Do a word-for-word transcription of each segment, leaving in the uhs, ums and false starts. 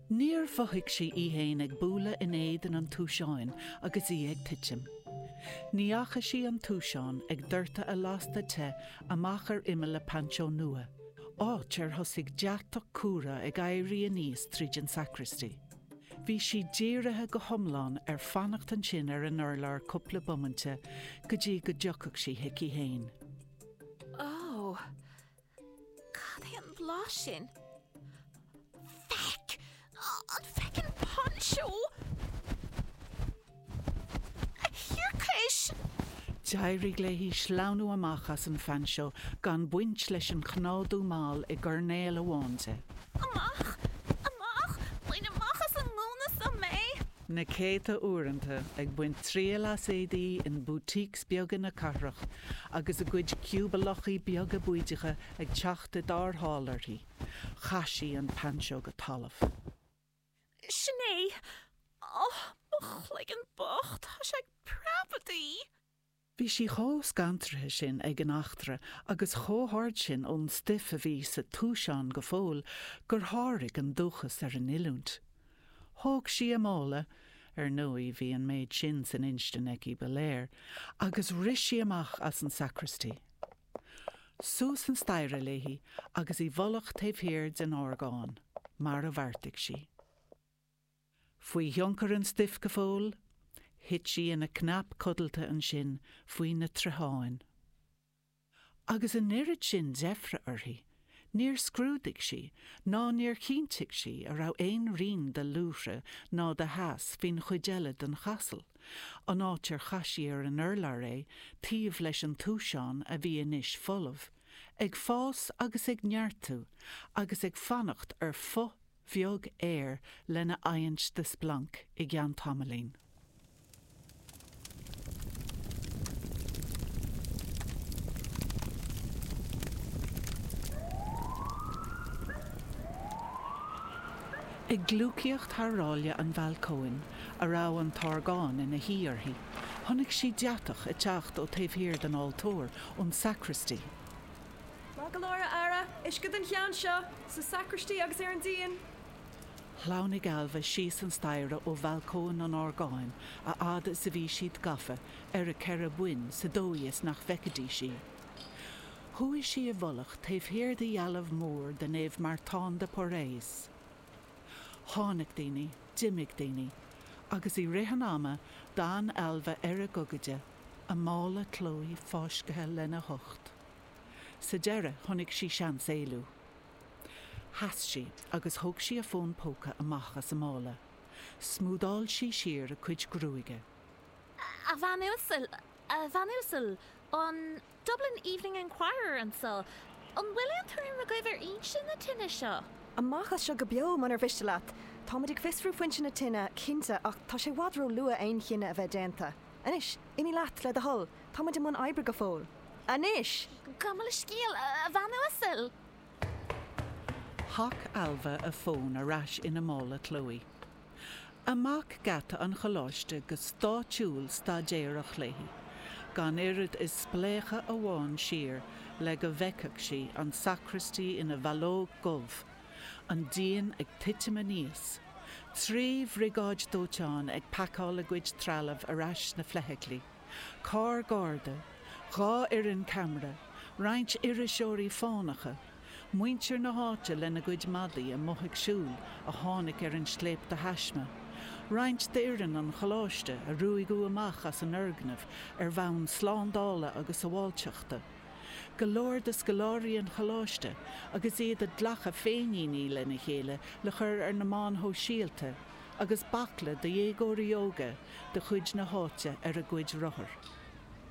Níor mhothaigh sí í fhéin ag bualadh in éadan an túiseáin agus í ag titim. Ní fhaca sí an túiseán ag doirteadh a lasta te amach ar imeall a painseó nua, áit ar thosaigh deatach cumhra ag éirí aníos tríd an sacristy. Bhí sí dírithe go hiomlán ar fanacht ansin ar an urlár cúpla bomainte go dtí go dtiocfadh sí chuici fhéin. Ó! Cad é an blas sin? Feck! An feckin' poncho! A thiarcais! D'éirigh léi sleamhnú amach as an phainseó gan baint leis an chnádú mall i gcoirnéal amháin de. Amach! Amach! Bain amach as an ngúna so mé! Na céadta uaireanta ag baint triail as éadaí in boutiques beaga na cathrach agus a gcuid ciúbalachaí beaga bídeacha ag teacht i dtarrtháil uirthi, chaith sí an painseó go talamh. Sin é! Ó, mo chloigeann bocht, tá sé ag preabadh! Bhí sí chomh scanraithe sin ag an eachtra agus chomh hard sin ón stuif a bhí sa túiseán go fóill gur sháraigh an dúchas ar an oiliúint. Thóg sí a mála, ar ndóigh bhí an méid sin san instinn aici ba léir, agus rith sí amach as an sacristy. Suas an staighre léi agus i bhfolach taobh thiar den orgán, mar a bheartaigh sí. Faoi thionchar an stuif go fóill, thit sí ina cnap codlata ansin faoi na troitheáin. Agus an oiread sin deifre uirthi, níor scrúdaigh sí ná níor chinntigh sí an raibh aon rian de luaithre ná de theas faoin chuid eile den chasal, an áit ar chaith sí ar an urlár é taobh leis an túiseán a bhí anois folamh, ag fás agus ag neartú agus ag fanacht ar phuth bheag aeir lena adhaint de splanc i gceann tamaillín. Ag gliúcaíocht thar ráille an bhalcóin, a raibh an t-orgán ina shuí uirthi, chonaic sí deatach ag teacht ó taobh thiar den altóir, ón sacristy. Maith go leor, a fheara, uisce don cheann seo, sa sacristy agus ar an díon. Shleamhnaigh Ailbhe síos an staighre ó bhalcóin an orgáin a fhad is a bhí siad gafa ar a ceithre boinn sa dóigh is nach bhfeicfidís í. Chuaigh sí i bhfolach taobh thiar de dhealbh mór de Naomh Martin de Porres. Tháinig daoine, d'imigh daoine, agus i rith an ama d'fhan Ailbhe ar a gogaide, a mála clóidh fáiscthe lena hucht. Sa deireadh chonaic sí seans éalú. Sheas sí agus thóg sí a fón póca amach as a mála. Smúdáil sí siar a cuid gruaige. A bhean uasal, a bhean uasal, an Dublin Evening Enquirer anseo. An bhfuil aon tuairim agaibh ar fhoinse na tine seo? Amach as seo go beo, munar mhiste leat. Táimid ag fiosrú foinse na tine, cinnte, ach tá sé i bhfad ró-luath aon chinneadh a bheith déanta. Anois, imigh leat, le do thoil. Táimid i mbun oibre go fóill. Anois! Gabh mo leithscéal, a bhean uasal! Shac Ailbhe a fón ar ais ina mála clóidh. Amach geata an choláiste go stáitsiúil staidéarach léi, gan oiread is spléachadh amháin siar le go bhfeicfeadh sí an sacraistí ina bhallóg dhubh, an díon ag titim aníos, trí bhriogáid dóiteáin ag pacáil a gcuid trealaimh ar ais sna feithiclí, carr garda, dhá fhoireann ceamara, roinnt iriseoirí fánacha, muintir na háite lena gcuid madaí amuigh ag siúl a tháinig ar an scléip de thaisme, roinnt d'fhoireann an choláiste a ruaigeadh amach as an fhoirgneamh ar bhonn slándála agus sábháilteachta, go leor de scoláirí an choláiste agus iad ag glacadh féiníní lena chéile le cur ar na meáin shóisialta, agus baicle de dhéagóirí óga de chuid na háite ar a gcuid rothar.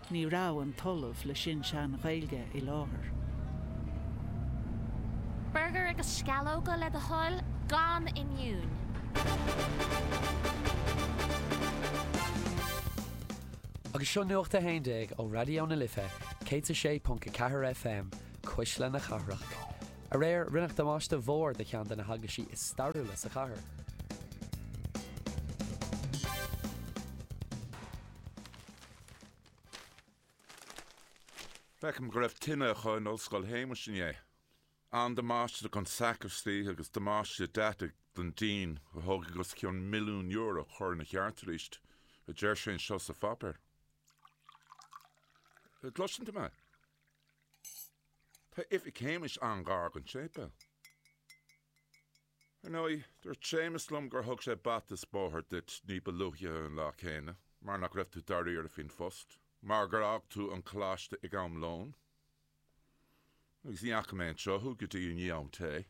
Ní raibh an tOllamh le Sin-Sean-Ghaeilge i láthair. Burgar agus sceallóga le do thoil, gan oinniúin. Agus seo Nuacht a haon déag ó Raidió na Life céad a sé ponc a ceathair FM, Cuisle na Cathrach. Aréir, rinneadh damáiste mhór do cheann de na heaglaisí is stairiúla sa chathair. Feicim go raibh tine acu in Ollscoil Shéamais inné. An-damáiste don sacraistí agus damáiste deataigh don díon a thógfaidh os cionn milliún euro a chur ina cheart arís, a deir sé anseo sa pháipéar. An gcloiseann tú mé? Tá oifig Shéamais an-ghar don tséipéal. Ar ndóigh, dúirt Séamus liom gur thug sé bata is bóthar duit ní ba luaithe an lá céanna, mar nach raibh tú dáiríre faoin phost, mar gur fhág tú an coláiste ag am lóin. Agus ní fhaca mé anseo thú go dtí i ndiaidh am tae.